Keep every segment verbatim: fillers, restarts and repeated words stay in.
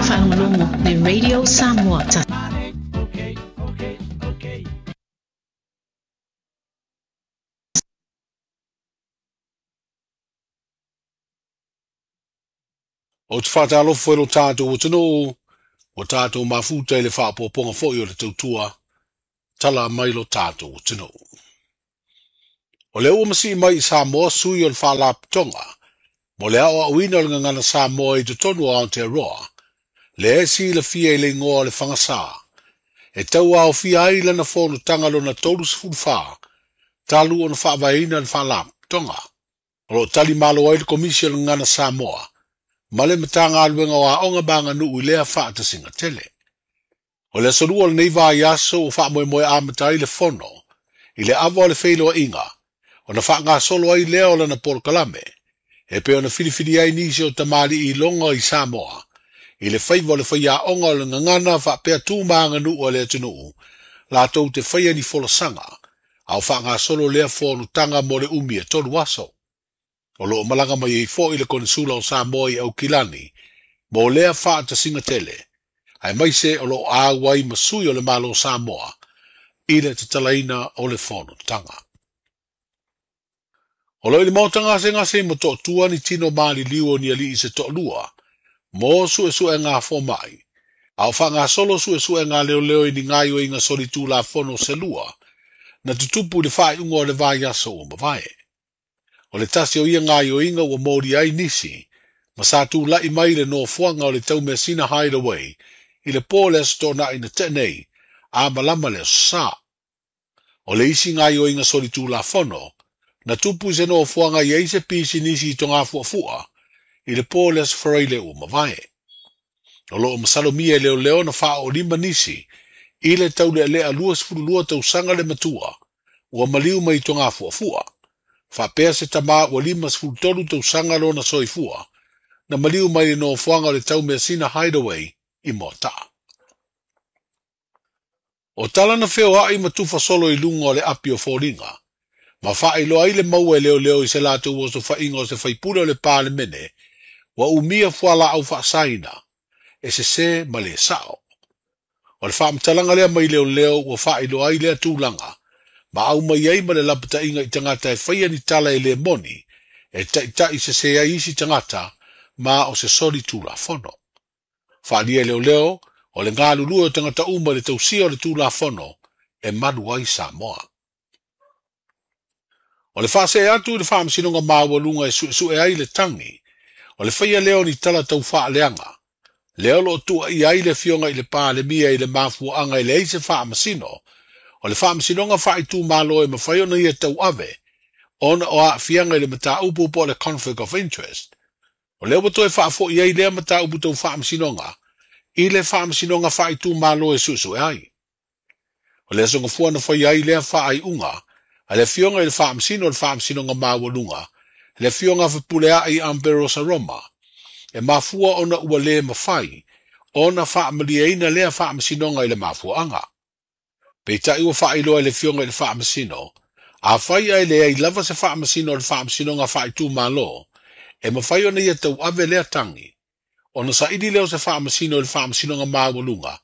Faalogologo le Radio Samoa. O te whātālofo e lo tātou o tino, o tātou mafuta i le whaapoponga foi o le tautua, tala mai lo tātou o tino. O le ua masi mai i Samoa sui o le whaalapotoga, mo le ao auina o le ngangana Samoa i totonu o Aotearoa, le esi i le fia i le ingoa o le whangasā, e tau aofia ai lana fonotaga lona tolu sefulu fa, talu ona faavaeina le faalapotoga. O loo tali malo ai le Komisi o le Gagana Samoa, ma le Matagaluega o Aoga ma Aganuu i lea faatasiga tele. O le aso lua o lenei vaiaso ua faamoemoe amata ai le fono, i le ava o le feiloaiga, ona faagasolo ai lea o lana polokalame, e pei ona filifili ai nisi o tamalii iloga i Samoa, i le faiva o le faiaoga o le gagana faapea tu ma aganuu a le atunuu, latou te faia ni folasaga, a o faagasolo lea fonotaga mo le umi e tolu aso. O loo malaga mai ai foi le Konesula o Samoa i Aukilani, mo lea faatasiga tele, aemaise o loo auai ma sui o le Malo Samoa, i le tatalaina o le fonotaga. O lo i le maota gasegase ma toatua ni tino maliliu o ni alii se toalua, mo suesuega fomai, a o faagasolo suesuega leoleo i ni gaoioiga solitulafono se lua, na tutupu i le faaiuga o le vaiaso ua mavae. O le tasi o ia gaoioiga ua moli ai nisi, ma sa tulai mai le nofoaga o le taumeasina Hideaway, i le po le aso toonai na tea nei, a malama le aso Sā. O le isi gaoioiga solitulafono, na tupu i se nofoaga i ai se pisinisi i Togafuafua, i le po le aso Faraile ua mavae. O loo masalomia e leoleo na faaolima nisi, i le taulealea lua sefulu lua tausaga le matua, ua maliu mai i Togafuafua. Faapea se tamā ua lima sefulu tolu tausaga lona soifua, na maliu mai le nofoaga o le taumeasina Hideaway i Moataa. O tala na feoai ma tufa solo i luga o le api o foliga, ma faailoa ai le maua e leoleo i se latou osofaiga o se faipule o le Palemene, ua umia fualaau faasaina, e sesē ma le sao. O le faamatalaga lea mai leoleo ua faailoa ai lea tulaga, ma aumai ai ma le lapataiga i tagata e faia ni tala e le moni, e taitai sesē ai isi tagata, ma o se solitulafono. Faaalia e leoleo, o le galulue o tagata uma i le tausia o le tulafono, e malu ai Samoa. O le faasee atu i le faamasinoga maualuga e suesue ai le tagi, o le faia lea o ni tala taufaaleaga, lea o loo tuuaia ai le afioga i le Palemia i le mafuaaga e leai se faamasino, o le faamasinoga faaitumalo e mafai ona ia tauave, ona o aafiaga i le mataupu po o le conflict of interest. O lea ua toe faafoi ai lea mataupu tau faamasinoga, i le faamasinoga faaitumalo e suesue ai. O le aso Gafua na faia ai lea faaiuga, a le afioga i le faamasino o le faamasinoga maualuga, le afioga Fepuleai Amberosa Roma, e mafua ona ua le mafai, ona faamalieina lea faamasinoga i le mafuaaga. Peitai ua faailoa e le afioga i le faamasino, afai ae leai lava se faamasino o le faamasinoga faaitumalo, e mafai ona ia tauave lea tagi, ona saili lea o se faamasino i le faamasinoga maualuga,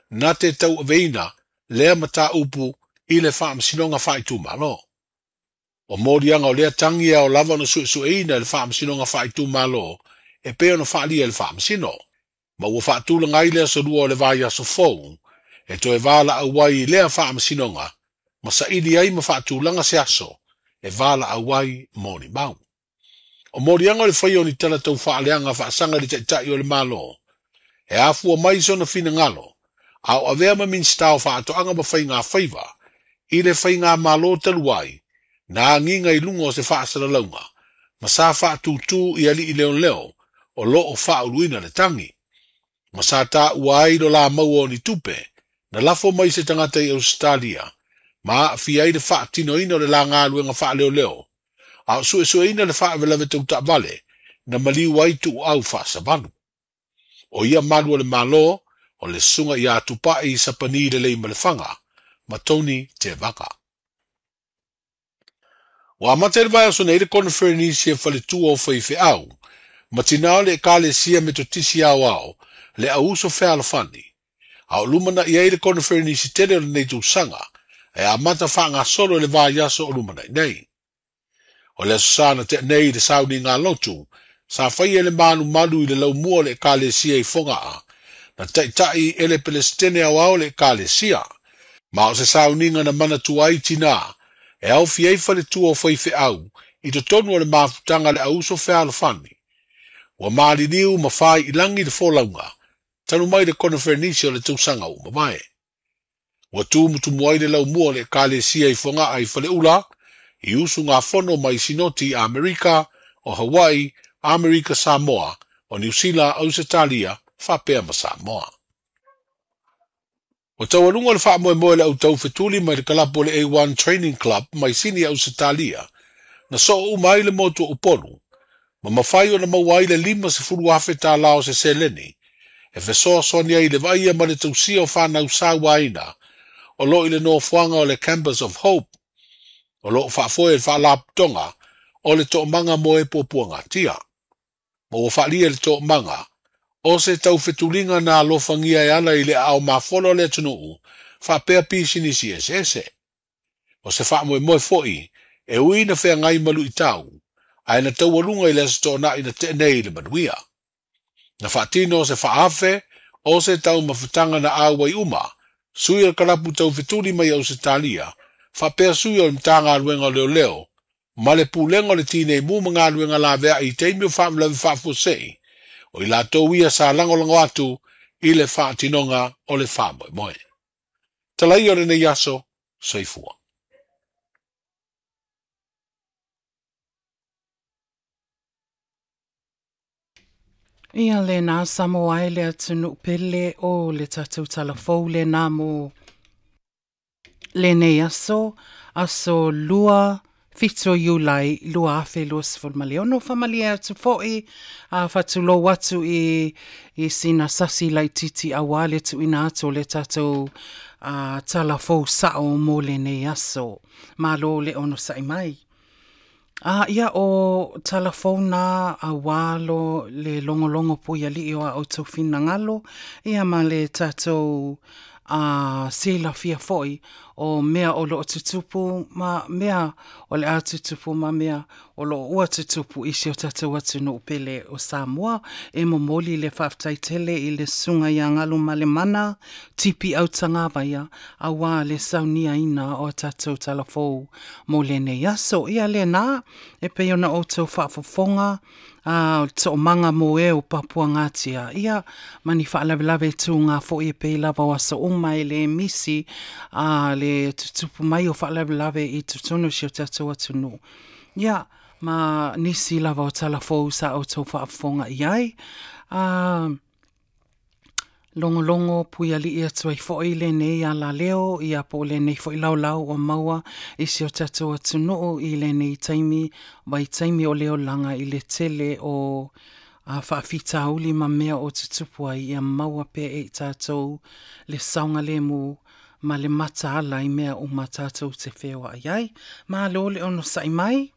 na te tauaveina lea mataupu i le faamasinoga faaitumalo. O moliaga o lea tagi e ao lava ona suesueina e le faamasinoga faaitumalo, e pei ona faalia e le faamasino, ma ua faatulaga ai le aso lua o le vaiaso fou, e toe valaau ai i lea faamasinoga, ma saili ai ma faatulaga se aso, e valaau ai mo ni mau. O moliaga o le faia o ni tala taufaaleaga faasaga i le taitai o le Malo, e afua mai sona finagalo, a o avea ma Minisita o Faatoaga ma Faiga Faiva, i le faigamalo talu ai, na agiga i luga o se faasalalauga, ma sa faatutū i alii leoleo, o loo faauluina le tagi. Ma sa taua ai lo la maua o ni tupe, na lafo mai se tagata i Ausetalia, ma aafia ai le faatinoina o le la galuega faaleoleo, a o suesueina le faalavelave tau taavale, na maliu ai tuuau faasavalu. O ia malu o le Malo, o le susuga ia Tupai Sapani Lelei Malefaga, ma Tony Tevaga. Ua amata i le vaiaso nei le koneferenisi e faletua o faifeau, ma tinā o le Ekalesia Metotisi Aoao, le auuso fealofani. A o lumana'i ai le koneferenisi tele o lenei tausaga, e amata faagasolo i le vaiaso o lumana'i nei. O le aso sa na tea nei i le sauniga lotu, sa faia le malumalu i le laumua o le ekalesia i Fogaa, na ta'ita'i e le Pelesitene aoao le ekalesia. Ma o se sauniga na manatua ai tinā, e aofia ai faletua o faifeau, i totonu o le mafutaga a le auuso fealofani. Ua maliliu ma fāi'ilagi le folauga, talu mai le koneferenisi o le tausaga ua mavae. Ua tumutumu ai le laumua o le ekalesia i Fogaa i Faleula, i usugafono mai Sinoti i Amerika, o Hawaii, Amerika Samoa, o Niu Sila, Ausetalia, faapea ma Samoa. Ua taualuga le faamoemoe le autaufetuli mai le kalapu o le A one Training Club mai Sini Ausetalia, na soo uma ai le motu o Upolu, ma mafai ona maua ai le lima sefulu afe tālā o se seleni, e fesoasoani ai i le vaaia ma le tausia o fanau sauaina, o loo i le nofoaga o le Campus of Hope, o loo faafoe e le faalapotopotoga o le toomaga mo e puapuagatia. Ma ua faalia le toomaga, o se taufetuliga na alofagia e ala i le aao mafolo o le atunuu, faapea pisinisi eseese. O se faamoemoe fo'i, e ui na feagai ma lu'itau, ae na taualuga i le aso toonai na tea nei i le manuia. Na faatino se faaafe o se taumafataga na auai uma, sui o le kalapu taufetuli mai Ausetalia, faapea sui o le Matagaluega o Leoleo, ma le pulega o le tinei mu ma galuega laveai i taimi o faalavelave faafuasei, o i latou ia sa lagolago atu i le faatinoga o le faamoemoe. Talaia o lenei aso, soifua. Ia lena Samoa ai le atunuu pele o le tatou talafou lena mo lenei aso, aso lua fitu o Iulai lua afe lua sefulu ma le ono. Faamalie atu fo'i a fatulou atu i, i sina sasi laititi auā le tuuina atu o le tatou a, talafou sa'o mo lenei aso. Malo le onosa'i mai. A ia o talafou na auā lo le logologo puiali'i o a outou finagalo, ia ma le tatou a silafia fo'i o mea o loo tutupu ma mea o le a tutupu ma mea o loo ua tutupu i si o tatou atunuu pele o Samoa. E momoli le faafetai tele i le susuga ia Galumalemana Tipi Autagavaia auā le sauniaina o a tatou talafou mo lenei aso. Ia lena e pei ona outou faafofoga a o le toomaga mo e o papuagatia ia ma ni faalavelave tuga fo'i e pei lava o aso uma e lē misi a le tutupu mai o faalavelave i totonu o si o tatou atunuu. Ia ma nisi lava o talafou sa outou faafofoga i ai. A logologo puiali'i atu ai fo'i lenei alaleo ia po o lenei fo'i laolao ua maua i si o tatou atunuu i lenei taimi vaitaimi o le olaga i le tele o a faafitauli ma mea o tutupu ai ia maua pea e i tatou le saogalemu ma le mataala i mea uma tatou te feoa'i ai. Malo le onosa'i mai.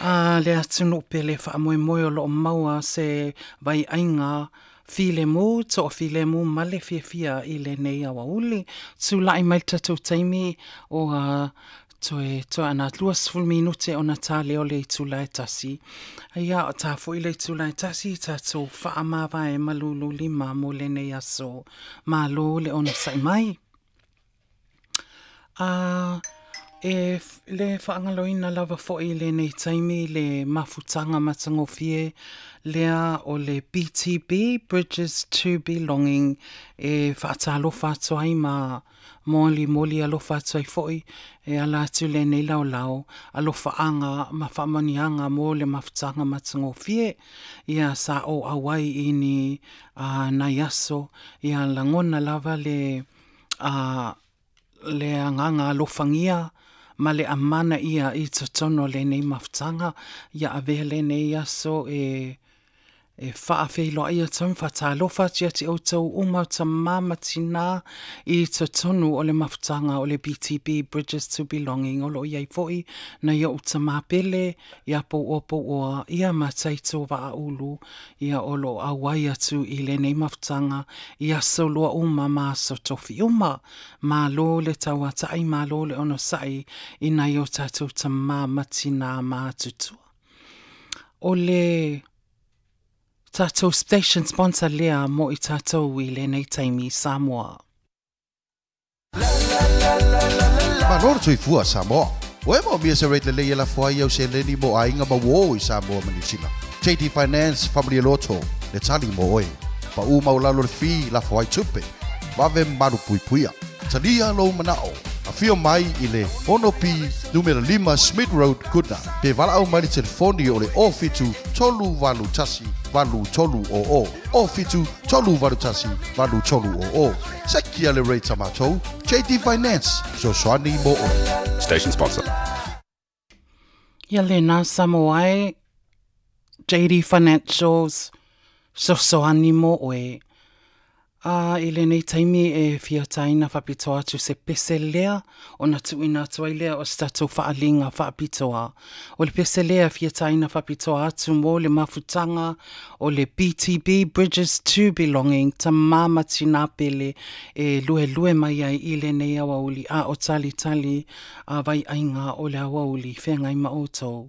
A le atunuu pele faamoemoe o loo maua se vaiaiga filemu, toafilemu ma le fiafia i lenei aoauli. Tula'i mai le tatou taimi o a toe toe ana lua sefulu minute ona tā lea o le itula e tasi. Ia o tā fo'i le itula e tasi tatou faamavae ma lululima mo lenei aso. Malo le onosa'i mai. A e le faagaloina lava fo'i i lenei taimi le mafutaga matagofie lea o le B T B, Bridges to Belonging, e faatalofa atu ai ma molimoli alofa atu ai fo'i e ala atu lenei laolao alofaaga ma faamanuiaga mo le mafutaga matagofie. Ia sa o auai i ni a, nai aso ia lagona lava le a, le agaga alofagia ma le amana ia i totonu o lenei mafutaga. Ia avea lenei aso e E faafeiloai atu ai ma faatalofa atu ia te outou uma o tamā ma tinā i totonu o le mafutaga o le B T B Bridges to Belonging o lo o i ai foʻi nai oʻu tamā pele ia pouoa pouoa ia mataito vaaulu ia o lo o auai atu i lenei mafutaga i aso lua uma ma aso tofi uma. Malo le tauataʻi, malo le onosaʻi i nai o tatou tamā ma tinā matutua. O le tatou station sponsor lea mo i tatou i lenei taimi Samoa. Malo le soifua Samoa. Ua e maomia se rate lelei e lafo ai au seleni mo aiga ma uō i Samoa ma Niu Sila. J D Finance Family Loto, le tali mo oe. Paʻu maualalo le fee lafo ai tupe. Vave malu puipuia. Talia lou manao. Afio mai i le ono P numera lima Smith Road, Goodna. Pe valaau mai le telefoni o le o fitu tolu valu tasi valu tolu o o. O fitu tolu valu tasi valu tolu o o. Sekia le rate a matou. J D Finance. Fesoasoani mo oe. Station sponsor. Ia lena Samoa e J D Financials fesoasoani mo oe. A i lenei taimi e fia taina faapitoa atu se pese lea ona tuuina atu ai lea o se tatou faaliga faapitoa. O le pese lea fia taina faapitoa atu mo le mafutaga o le B T B Bridges to Belonging tamā ma tinā pele e luelue mai ai i lenei aoauli a o talitali a vaiaiga o le aoauli feagai ma outou.